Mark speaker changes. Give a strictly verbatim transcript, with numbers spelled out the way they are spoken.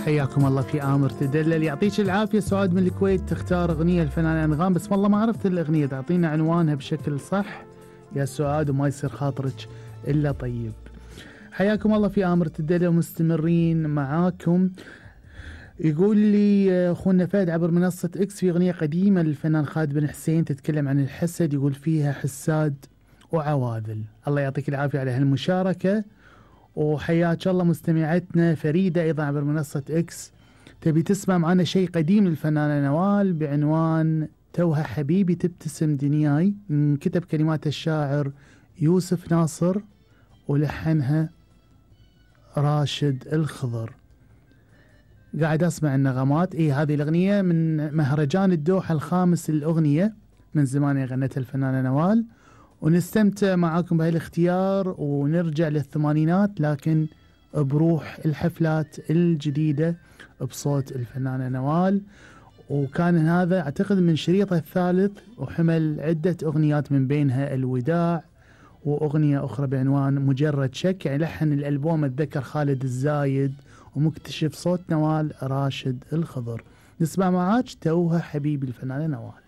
Speaker 1: حياكم الله في آمر تدلل. يعطيك العافية. سعاد من الكويت تختار أغنية الفنان أنغام، بس والله ما عرفت الأغنية، تعطينا عنوانها بشكل صح يا سعاد وما يصير خاطرك إلا طيب. حياكم الله في آمر تدلل، مستمرين معاكم. يقول لي أخونا فهد عبر منصة إكس في أغنية قديمة للفنان خالد بن حسين تتكلم عن الحسد، يقول فيها حساد وعواذل. الله يعطيك العافية على هالمشاركة، وحياك الله مستمعتنا فريدة أيضا عبر منصة إكس تبي تسمع معنا شيء قديم للفنانة نوال بعنوان توها حبيبي تبتسم دنياي، من كتب كلمات الشاعر يوسف ناصر ولحنها راشد الخضر. قاعد أسمع النغمات. إيه هذه الأغنية من مهرجان الدوحة الخامس للأغنية، من زمان غنتها الفنانة نوال، ونستمتع معاكم بهاي الاختيار ونرجع للثمانينات لكن بروح الحفلات الجديدة بصوت الفنانة نوال. وكان هذا أعتقد من شريطه الثالث، وحمل عدة أغنيات من بينها الوداع وأغنية أخرى بعنوان مجرد شك، يعني لحن الألبوم أتذكر خالد الزايد ومكتشف صوت نوال راشد الخضر. نسمع معاك توها حبيبي الفنانة نوال.